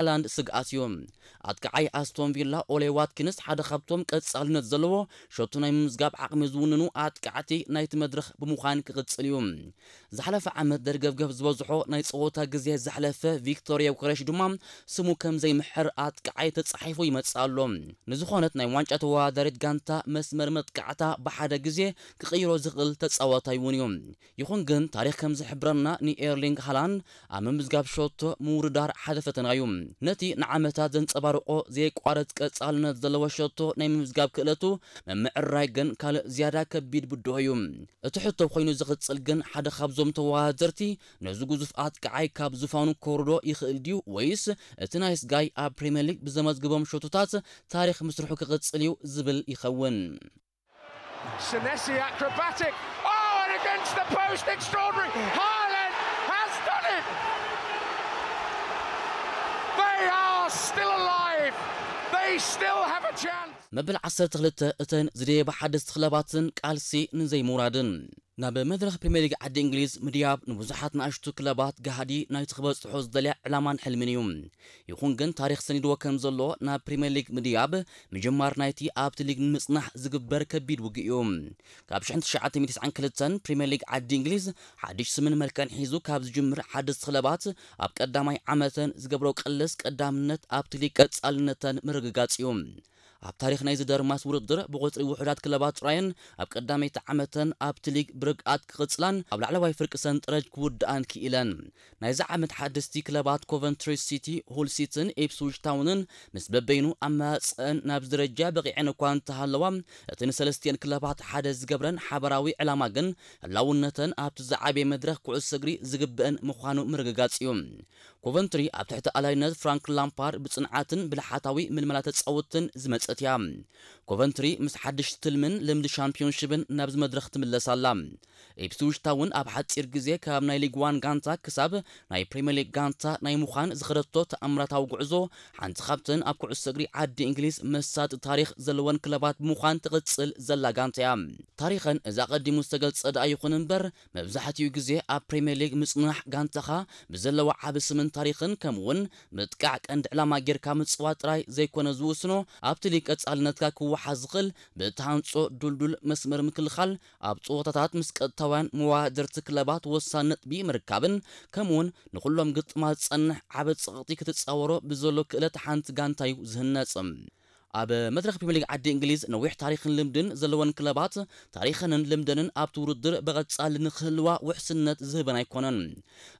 ሃላንድ ስግኣት እዩ። ኣጥቃዓይ ኣስቶን ቪላ ኦሌ ዋትኪንስ ሓደ ካብቶም ቀጻልነት ዘለዎ ሸቶ ናይ ምምዝጋብ ዓቕሚ ዝውንኑ ኣጥቃዕቲ ናይቲ መድረኽ ብምዃን ክቕጽል እዩ። ዝሓለፈ ዓመት ደርገብገብ ዝበዝሖ ናይ ጸወታ ግዜ ዘሕለፈ ቪክቶር ዮከረሽ ድማ ስሙ ከም ዘይምሕር ኣጥቃዓይ ተጻሒፉ ይመጽእ ኣሎ። ንዝኾነት ናይ ዋንጫ ተወዳዳሪት ጋንታ መስመር መጥቃዕታ ብሓደ ግዜ ክቕይሮ ዝኽእል ተጻዋታይ እውን እዩ። ይኹን ግን ታሪኽ ከም ዝሕብረና ንኤርሊንግ ሃላንድ ኣብ ምምዝጋብ ሸቶ ምውርዳር ሓደ ፈተና እዩ። ነቲ ንዓመታት ዘንጸባርቆ ዘየቋረጽ ቀጻልነት ዘለዎ ሸቶ ናይ ምምዝጋብ ክእለቱ ምምዕራይ ግን ካልእ ዝያዳ ከቢድ ብድሆ እዩ። እቲ ሕቶ ኮይኑ ዝቕጽል ግን ሓደ ካብዞም ተወዳደርቲ ነዚ ግዙፍ ኣጥቃዓይ ካብ ዝፋኑ ከውርዶ ይኽእል ድዩ ወይስ እቲ ናይስ ጋይ ኣብ ፕሪምየር ሊግ ብዘመዝግቦም ሸቶታት ታሪኽ ምስርሑ ክቕጽል እዩ ዝብል ይኸውን። Senesi acrobatic. Oh, and against the post, extraordinary. Haaland has done it. They are still alive. They still have a chance. መበል ዓሰርተ ክልተ እተን ዝደየባ ሓደስቲ ክለባትን ቃልሲ ንዘይምውራድን ናብ መድረኽ ፕሪምየር ሊግ ዓዲ እንግሊዝ ምድያብ ንብዙሓት ንኣሽቱ ክለባት ጋህዲ ናይቲ ክበጽሖ ዝደልያ ዕላማን ሕልምን እዩ። ይኹን ግን ታሪኽ ሰኒድዎ ከም ዘሎ ናብ ፕሪምየር ሊግ ምድያብ ምጅማር ናይቲ ኣብቲ ሊግ ንምጽናሕ ዝግበር ከቢድ ውግእ እዩ። ካብ ሽሕን ትሽዓተ ሚእትን ትስዓን ክልተን ፕሪምየር ሊግ ዓዲ እንግሊዝ ሓድሽ ስምን መልክዕን ሒዙ ካብ ዝጅምር ሓደስቲ ክለባት ኣብ ቀዳማይ ዓመተን ዝገብሮ ቅልስ ቀዳምነት ኣብቲ ሊግ ቀጻልነተን ምርግጋጽ እዩ። ኣብ ታሪኽ ናይዚ ደርማስ ውድድር ብቁጽሪ ውሑዳት ክለባት ጥራየን ኣብ ቀዳመይቲ ዓመተን ኣብቲ ሊግ ብርግኣት ክቕጽላን ኣብ ላዕለዋይ ፍርቂ ሰንጠረጅ ክውድኣን ክኢለን። ናይዚ ዓመት ሓደስቲ ክለባት ኮቨንትሪ ሲቲ፣ ሁል ሲትን ኢፕስዊች ታውንን ምስ በበይኑ ኣመራጽአን ናብዚ ደረጃ በቒዐን እኳ እንተሃለዋ እቲ ንሰለስቲኤን ክለባት ሓደ ዝገብረን ሓበራዊ ዕላማ ግን ህላውነተን ኣብቲ ዝዓበየ መድረኽ ኩዕሶ እግሪ ዝግብአን ምዃኑ ምርግጋጽ እዩ። ኮቨንትሪ ኣብ ትሕቲ ኣላይነት ፍራንክ ላምፓርድ ብጽንዓትን ብልሓታዊ ምልመላ ተጻወትን ዝመጸት እያ። ኮቨንትሪ ምስ ሓድሽ ትልምን ልምዲ ሻምፒዮንሽብን ናብዚ መድረኽ ትምለስ ኣላ። ኢፕስዊች ታውን ኣብ ሓጺር ግዜ ካብ ናይ ሊግ ዋን ጋንታ ክሳብ ናይ ፕሪምየር ሊግ ጋንታ ናይ ምዃን ዝኸደቶ ተኣምራታዊ ጉዕዞ ሓንቲ ካብተን ኣብ ኩዕሶ እግሪ ዓዲ እንግሊዝ መሳጢ ታሪኽ ዘለወን ክለባት ብምዃን ትቕጽል ዘላ ጋንታ እያ። ታሪኸን እዚ ኣቐዲሙ ዝተገልጸ ደኣ ይኹን እምበር መብዛሕትኡ ግዜ ኣብ ፕሪምየር ሊግ ምጽናሕ ጋንታኻ ብዘለዋ ዓቢ ስምን ታሪኽን ከምኡውን ምጥቃዕ ቀንዲ ዕላማ ጌርካ ምጽዋት ጥራይ ዘይኮነ ዝውስኖ ኣብቲ ሊግ ቀጻልነትካ ክወሓስ ዝኽእል ብእትሃንጾ ዱልዱል መስመር ምክልኻል ኣብ ጸወታታት ምስ ቀጥታውያን መወዳደርቲ ክለባት ወሳኒ ነጥቢ ምርካብን ከምኡውን ንኹሎም ግጥማት ዝጸንሕ ዓቢ ጸቕጢ ክትጻወሮ ብዘሎ ክእለት ሓንቲ ጋንታ እዩ ዝህነጽ። ኣብ መድረኽ ፕሪምየር ሊግ ዓዲ እንግሊዝ ነዊሕ ታሪኽን ልምድን ዘለወን ክለባት ታሪኸንን ልምደንን ኣብቲ ውድድር ብቐጻሊ ንክህልዋ ውሕስነት ዝህበን ኣይኮነን።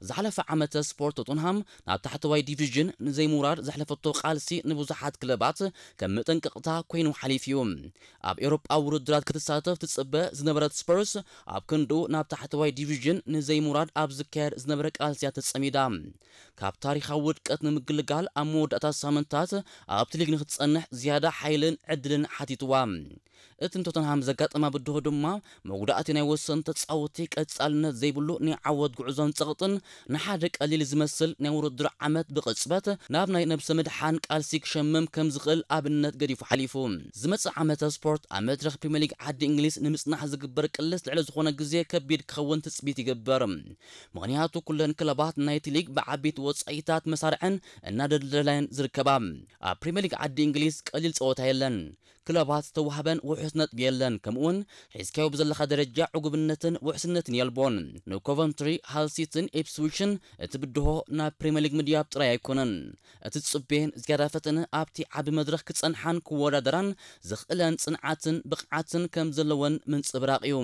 ዝሓለፈ ዓመተ ስፖርት ቶተንሃም ናብ ታሕተዋይ ዲቪዥን ንዘይምውራድ ዘሕለፈቶ ቃልሲ ንብዙሓት ክለባት ከም መጠንቀቕታ ኮይኑ ሓሊፉ እዩ። ኣብ ኤውሮጳ ውድድራት ክትሳተፍ ትጽበ ዝነበረት ስፐርስ ኣብ ክንድኡ ናብ ታሕተዋይ ዲቪዥን ንዘይምውራድ ኣብ ዝካየድ ዝነበረ ቃልሲ እያ ተጸሚዳ። ካብ ታሪኻዊ ውድቀት ንምግልጋል ኣብ መወዳእታ ሳምንታት ኣብቲ ሊግ ንክትጸንሕ ዝያዳ ሓይልን ዕድልን ሓቲትዋ። እቲ ንቶተንሃም ዘጋጠማ ብድሆ ድማ መጉዳእቲ ናይ ወሰንቲ ተጻወትቲ ቀጻልነት ዘይብሉ ናይ ዓወት ጉዕዞን ጸቕጥን ንሓደ ቀሊል ዝመስል ናይ ውድድር ዓመት ብቕጽበት ናብ ናይ ነብሰ ምድሓን ቃልሲ ክሸምም ከም ዝኽእል ኣብነት ገዲፉ ሓሊፉ። ዝመጽእ ዓመተ ስፖርት ኣብ መድረኽ ፕሪምየር ሊግ ዓዲ እንግሊዝ ንምጽናሕ ዝግበር ቅልስ ልዕሊ ዝኾነ ግዜ ከቢድ ክኸውን ትጽቢት ይግበር። ምኽንያቱ ኩለን ክለባት ናይቲ ሊግ ብዓበይቲ ወጻኢታት መሳርዐን እናደልደላየን ዝርከባ። ኣብ ፕሪምየር ሊግ ዓዲ እንግሊዝ ቀሊል ጸወታ የለን። ክለባት ዝተዋህበን ውሑስ ነጥቢ የለን፣ ከምኡውን ሒዝካዮ ብዘለኻ ደረጃ ዕጉብነትን ውሕስነትን የልቦን። ንኮቨንትሪ፣ ሃል ሲትን ኢፕስዊችን እቲ ብድሆ ናብ ፕሪምየር ሊግ ምድያብ ጥራይ ኣይኮነን። እቲ ዝጽበየን ዝያዳ ፈተነ ኣብቲ ዓቢ መድረኽ ክጸንሓን ክወዳደራን ዘኽእለን ጽንዓትን ብቕዓትን ከም ዘለወን ምንጽብራቕ እዩ።